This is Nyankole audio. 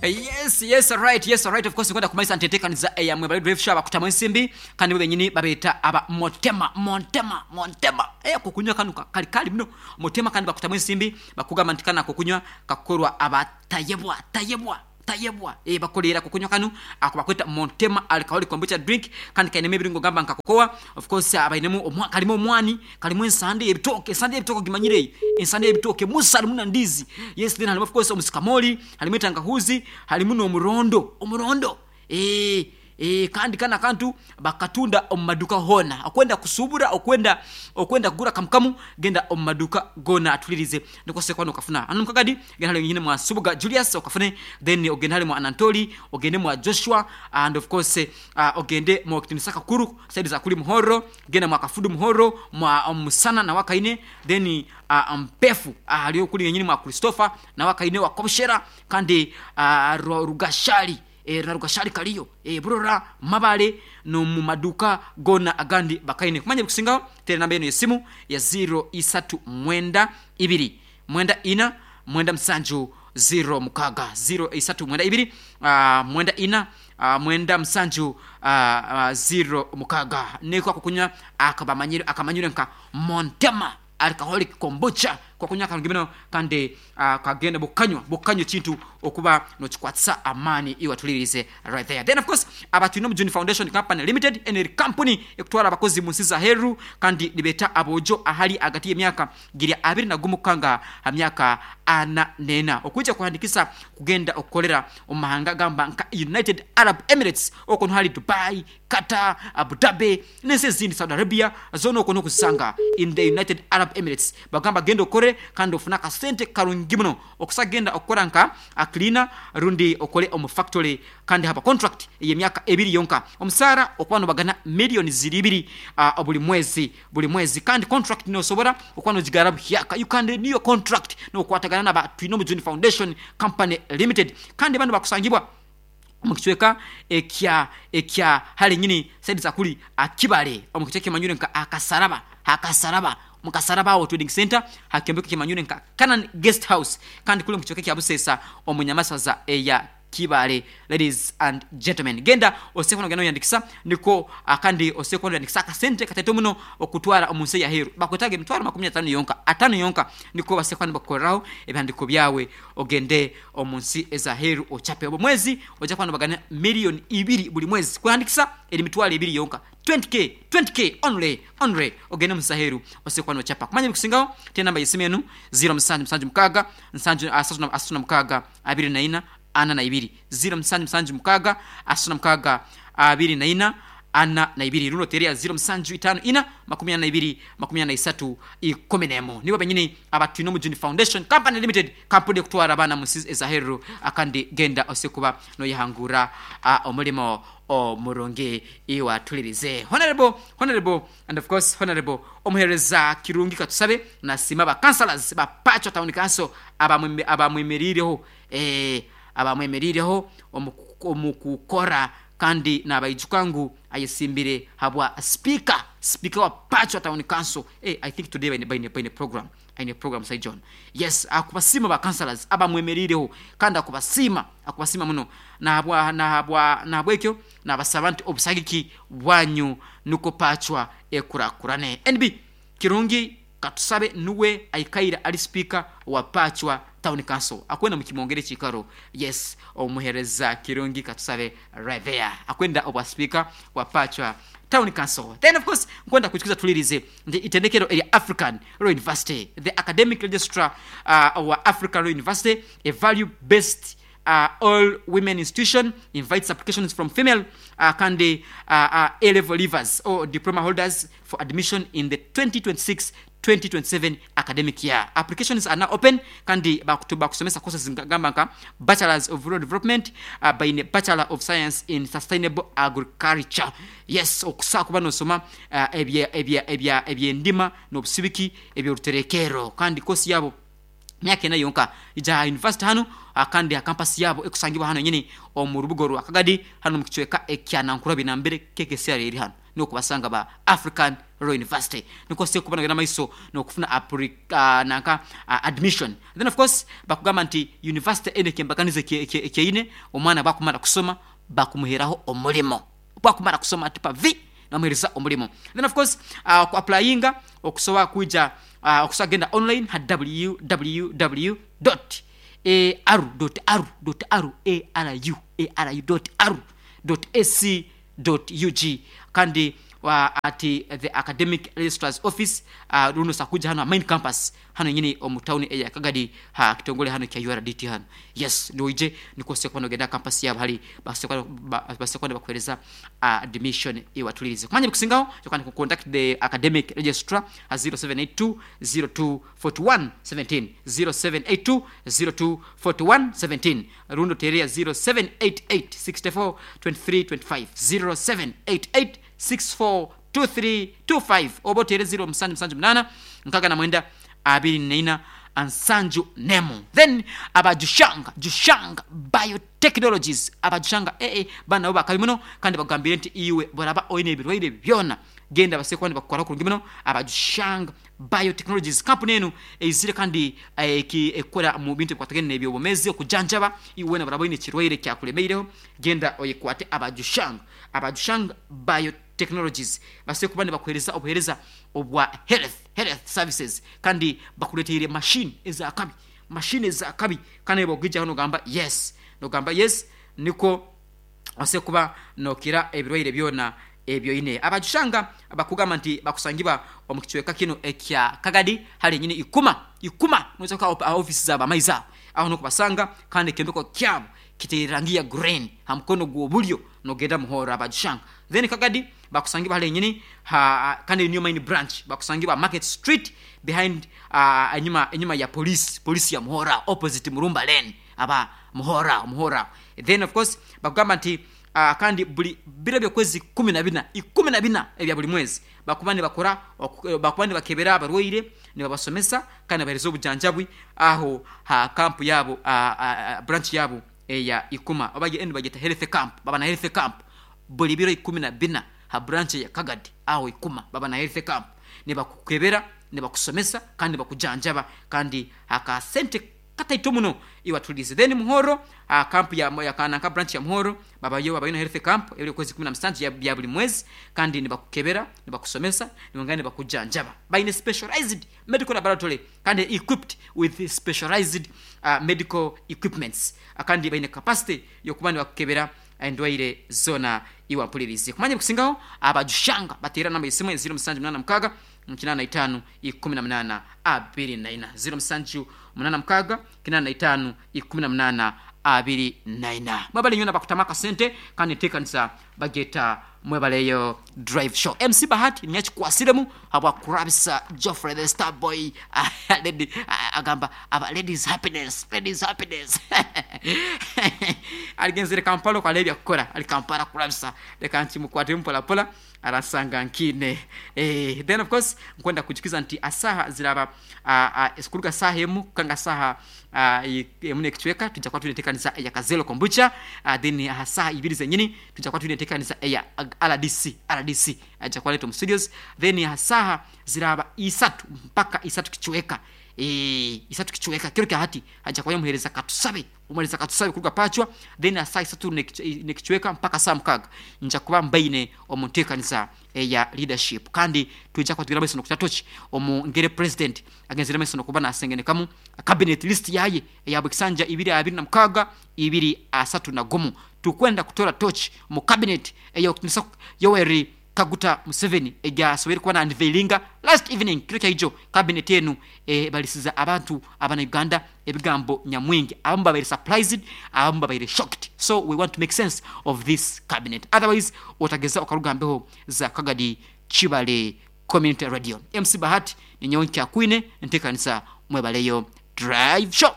Yes, yes, right, yes, right. Of course, nkwenda kumanyisa nti enteekaniza eya Mwebale Drive Show abakutamu ensimbi kandi bo benyini babeeta aba Motema, Montema, Montema. Eh, akokunywa kanu ka- kali kali muno. Motema kandi bakutamu ensimbi bakugamba nti kanu akokunywa kakukorwa aba Tayebwa, Tayebwa, Tayebwa. Eh, bakoreire akokunywa kanu ako bakweta Montema Alcoholic Kombucha Drink kandi kainemu ebirungo gamba nka cocoa, of course bainemu omwa, karimu omwani, Karimu ensande y'ebitooke, ensande y'ebitooke ogimanyire eyo? Ensande y'ebitooke musa harimu na ndiizi. Yes, then harimu of course omusikamori, harimu entangahuuzi, harimu n'omurondo, omurondo. Eeh, eeh kandi kanu akantu bakatunda omu maduuka hoona. Okwenda kusuubura, okwenda okwenda kugura kamu kamu, genda omu maduuka goona atulirize nikwo osobora kuba nokafuna. Hanu omu Kagadi, genda hare nyine mwa Nsubuga Julius okafune, then ogende hare mwa Anantoli, ogende mwa Joshua and of course ogende mwa Owekitinisa Kakuru, side za kuri Muhorro. Genda mwa Kafudu Muhorro, mwa Musana nawe akaine, then Mpefu ahari okuri yenyini mwa Christopher nawe akaine wa Kobushera kandi Rugashali na Rugashali kariyo Burora, Mabale n'omu maduuka goona agandi bakaine. Kumanya ebikusingaho teera enamba enu y'esimu ya ziiro isatu mwenda ibiri mwenda ina mwenda musanju ziiro mukaaga, ziiro isatu mwenda ibiri mwenda ina mwenda musanju ziiro mukaaga. Niko akokunywa akabamanyire akamanyirwe nka Montema Alcoholic Kombucha. Kokunywa karungi muno kandi kagenda bukanywa bukanywa ekintu okuba nokikwatisa amaani iwe atuliriize right there. Then of course aba twine Omujuni Foundation Company Limited eno eri kampuni ekutwara abakozi munsi zaheru kandi nibeeta aboojo ahari ahagati yemyaka giri 21 kukanga ha myaka 44 okwija kuhandikisa kugenda okukorera omu mahanga gamba nka United Arab Emirates okwo niho hari Dubai, Qatar, Abu Dhabi n'ensi ezindi Saudi Arabia zoona okwo niho okuzisanga in the United Arab Emirates. Bagamba genda okore kandi ofune akasente karungi muno okusa genda okukora nka cleaner rundi okore omu factory kandi haba contract ey'emyaka ebiri yonka omusaara okuba nobagana million ziri ibiri buri mwezi. Buri mwezi kandi contract nosobora okuba nogigara buhyaka, you can renew your contract nokwatagana naba Twinomujuni Foundation Company Limited kandi banu bakusangibwa omu kicweka ekya ekya hare nyini side za kuri Kibale omu kicweka ekimanyirwe nka Akasaraba Akasaraba omu Kasaraba aho Trading Center ha kyombeko ekimanyirwe nka Canaan Guest House kandi kuri omu kicweka ekya Busesa omu Nyamasaza eya Kibaale ladies and gentlemen genda oseho nogenda noyandikisa nikwo kandi oseho noyandikisa akasente kataito muno okutwara omunsi eyaheru bakwetaga emitwaro 50 yonka atano yonka nikwo baseho nibakukoreraho ebihandiko byawe ogende omunsi ezaheru ochape obo mwezi oja kuba nobagana million ibiri buri mwezi kwehandikisa eri mitwaro ebiri yonka 20k 20k only only ogende omunsi zaheru oseho kuba nochapa kumanya ebikusingaho tera enamba yesimu enu 0 7 7 6 7 36 24 42, ziiro musanju musanju mukaaga, asatu na mukaaga, 24 42, rundi oteere ya ziiro musanju itaano ina, 42, 43, 11. Nibo benyini aba Twinomujuni Foundation Company Limited, kampuni ekutwara abaana mu nsi ez'aheeru kandi genda ose kuba noyehanguura omurimo omurungi iwe atulirize. Honourable, Honourable and of course Honourable Omuheereza Kirungi Katusabe nasiima ba councillors ba Pacho Town Council abamwemereireho abamwemereireho omu kukora kandi nabaijuka ngu ayesimbire habwa sipiika sipiika wa Pacho Town Council. I think today baine baine program aine program Sir John. Yes, akubasiima ba councillors abamwemereireho kandi akubasiima akubasiima muno nahabwa nahabwa nahabwekyo nabasaba nti obusagiki bwanyu nukwo Pachwa ekurakurane. NB, Kirungi Katusabe nuwe aikaire ari sipiika wa Pachwa Town Council. Akwenda mukimwongere ekiikaro. Yes, omuhereza Kirungi Katusabe right there. Akwenda obwa sipiika bwa Pachwa Town Council. Then of course nkwenda kwijukiza tulirize nti itendekero erya African Royal University, the academic registrar wa African Royal University, a value based all women institution invites applications from female kandi A-level leavers or diploma holders for admission in the 2026-2027 academic year. Applications are now open kandi bakusomesa courses gamba nka Bachelors of Rural Development baine Bachelor of Science in Sustainable Agriculture. Yes, okusa kuba nosoma ebyendima n'obusibiki eby'oruterekerro kandi course yabo myaka ena yonka. Ija aha yunivasite hanu kandi aha kampasi yaabo ekusangibwa hanu henyini omu rubuga orwa Kagadi hanu omu kicweka ekya Nankulabye nambere KKCR eri hanu. N'okubasanga ba African Royal University nikwo osobora kuba nogenda mumaiso n'okufuna nanka admission. Then of course bakugamba nti university enu ekyembaganiza ekyeine, omwana bwakumara kusoma bakumuheraho omurimo. Bwakumara kusoma ati pa vi nibamuhereza omurimo. Then of course ku applyinga okusobola kwija okusobola kugenda online ha www dot aru dot aru dot aru aru aru dot aru dot ac dot ug kandi at the academic registrar's office rundi osobola kwija hanu ha main campus hanu henyini omu town eya Kagadi ha kitongole hanu ekya URDT hanu yes noije nikwo osobola kuba nogenda ha campus yabo hali basobole kuba nibakuhereza admission iwatulirize kumanya ebikusingaho you can contact the academic registrar ha 0782 02 41 17 0782 02 41 17 Rundi oteere ya 0788 64 23 25, 0788 64 23 25, oba oteere 0778 69 24 71. Then aba Jushanga, Jushanga Biotechnologies, aba Jushanga ee banu nabo bakabi muno kandi bakugambire nti iwe bworaba oine ebirwaire byona genda basobole kuba nibakukoraho kurungi muno. Aba Jushanga Biotechnologies kampuni enu eizire kandi ekukora mu bintu ebikwatagaine n'eby'obwomeezi, okujanjaba. Iwe weena bworaba oine ekirwaire ekyakulemeireho, genda oyekwate aba Jushang. Aba Jushang Biotechnologies basoboire kuba nibakuheereza obuheereza obwa health, health services, kandi bakuleteire machine ez'akabi, machine ez'akabi kandi obu orikugigyaho nogamba yes, nogamba yes nikwo Osobole kuba nokira ebirwaire byona ebi oine. Abajushanga bakugamba nti bakusangibwa omu kicweka kinu ekya Kagadi hali nyini Ikuma. Ikuma noija kuhika aha ofiisi zaabo amaizi aho. Aho nokubasanga kandi ekyombeko kyabo kitaire rangi ya green ha mukono gw'obulyo nogenda Muhorro Abajushanga. Then Kagadi bakusangibwa hali nyini ha kandi eyo niyo main branch bakusangibwa Market Street behind enyuma enyuma ya police, police ya Muhorro aho opposite Murumba Lane. Aba Muhorro aho, Muhorro aho. Then of course bakugamba nti kandi buri biro by'okwezi 14, 14 ebya buri mwezi bakuba nibakora bakuba nibakebera abarwaire, nibabasomesa kandi nibabahereza obujanjabi aho ha camp yaabo, branch yaabo eya Ikuma oba enu bagyeta health camp, baba na health camp buri biro 14 ha branch eya Kagadi aho Ikuma baba na health camp nibakukebera, nibakusomesa kandi nibakujanjaba kandi akasente Kataito muno iwe atuhuriize. Then Muhorro aha camp ya ya nanka branch ya Muhorro babayo babayo na health camp ebiri okwezi 17 ya bya buri mwezi kandi nibakukebera, nibakusomesa, nibongera nibakujanjaba. Baine specialized medical laboratory kandi equipped with specialized medical equipments kandi baine capacity yokuba nibakukebera endwaire zona iwe ampuririize. Kumanya ebikusingaho abajushanga bateera namba yesimu 0786 85 18 24, 0786 85 18 24. Mwebale inywena abakutamu akasente kandi enteekanisa bagyeta Mwebaleyo Drive Show. MC Bahati niiwe akikwasiremu habw'akurabisa Geoffrey the Star Boy lady agamba aba ladies happiness, ladies happiness. Arigenzire Kampala okwo hariho ebyakukora, ari Kampala kurabisa. Reka nkimukwatemu mpora mpora. Aransanga nkiine. Then of course nkwenda kujukiza nti asaaha ziraaba kuruga saaha emu kuhika nka saaha emu n'ekicweka twija kuba twine enteekanisa eya Kazelo Kombucha then aha saaha ibiri zenyini twija kuba twine enteekanisa eya RDC, RDC aija kuba areeta omu studios then aha saaha ziraaba isatu mpaka isatu kicweka, isatu kicweka kiro kya hati haija kubayo omuheereza Katusabe. Omurisa katusabe kuruga Pacwa then aha saaha isatu n'ekicweka mpaka saaha mukaaga nja kuba mbaine omu nteekaniza eya leadership kandi twija kuba tugenda mumaiso n'okuta tochi omu ngeri Purezidenti agenzire mumaiso n'okuba nasengenekamu cabinet list yaye eya buri kisanja ibiri abiri na mukaaga ibiri asatu na gumu. Tukwenda kutora tochi omu cabinet ey'okutinisa Yoweri Kaguta Museveni egyasoboire kuba na unveilinga last evening kiro kyaijo. Cabinet enu ebarisize abantu abana Uganda ebigambo nyamwingi, abamu babaire surprised abamu babaire shocked, so we want to make sense of this cabinet otherwise otageza okaruga mbeho za Kagadi Kibale Community Radio. MC Bahati ninyowe nkyakwine ntekanisa mwebaleyo Drive Show.